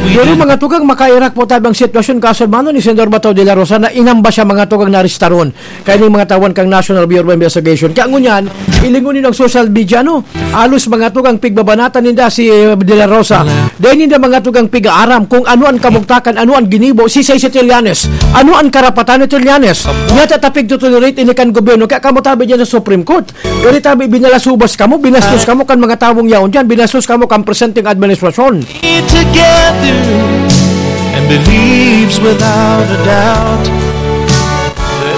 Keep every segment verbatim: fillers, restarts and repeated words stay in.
Pero mga tugang, makairak po tabi ang sitwasyon, kaso hermano, ni Senador Bato de la Rosa na inamba siya, mga tugang, na arestaron. Kaya ning mga tawan kang National Bureau of Investigation. Kaya ngunyan, ilingon niyo ang social media, no? Alos mga tugang pigbabanatan ninda si, eh, de la Rosa. Dahil ninda mga tugang pig-aaram kung ano ang kabugtakan, ano ang ginibo, si Sisay Trillanes. Ano ang karapatan ni Trillanes? Niya tatapig to tolerate ini kan gobyerno. Kaya kamo tabi dyan sa Supreme Court. Diri tabi, binalasubas kamo, binastos kamo kan mga tawong yaon dyan, binastos kamo kan presenteng administrasyon. Together and believes without a doubt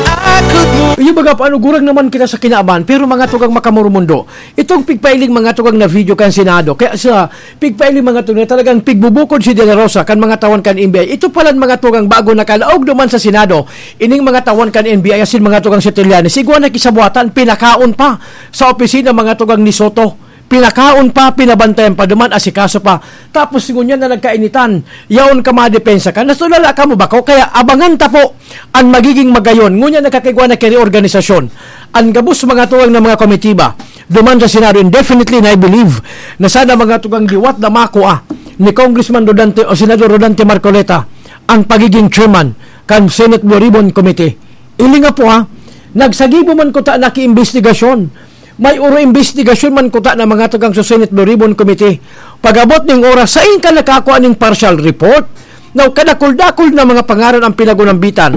that I could move. Iyo baga, paano gurang naman kita sa kinaaban, pero mga tugang makamurumundo, itong pigpailing mga tugang na video kan Senado, kaya sa pigpailing mga tugang na talagang pigbubukod si De La Rosa kan mga tawan kan N B I, ito palan mga tugang bago nakalaog duman sa Senado, ining mga tawan kan N B I asin mga tugang si Trillanes, igwa na kisabuatan, pinakaon pa sa opisina mga tugang ni Soto. Pinakaon pa, pinabantayan pa duman, asikaso pa. Tapos ngunyan na nagkainitan, yaon ka madepensa ka. Nasulala ka mo ba ko? Kaya abangan ta po ang magiging magayon. Ngunyan nakakigwa na kini organisasyon. Ang gabos mga tuwang na mga komitiba, duman sa Senado, indefinitely, and I believe na sana mga tugang liwat na makua ni Congressman Rodante o Senador Rodante Marcoleta ang pagiging chairman kan Senate Blue Ribbon Committee. Ili nga po ha, nagsagibo man kuta na ki-imbestigasyon. May oro imbestigasyon man kuta na mga tugang sa Senate Blue Ribbon Committee. Pag-abot ning oras, sain ka nakakua ning partial report? Now, kadakul-dakul na mga pangaran ang pinag-unambitan.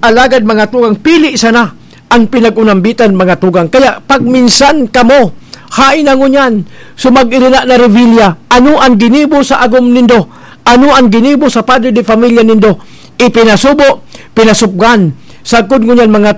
Alagad mga tugang, pili sana ang pinag-unambitan, mga tugang. Kaya pag minsan kamo, hain na ngunyan, sumag-irina na Revilla, ano ang ginibo sa agom nindo? Ano ang ginibo sa padre de familia nindo? Ipinasubo, pinasupgan. Sagkod ngunyan mga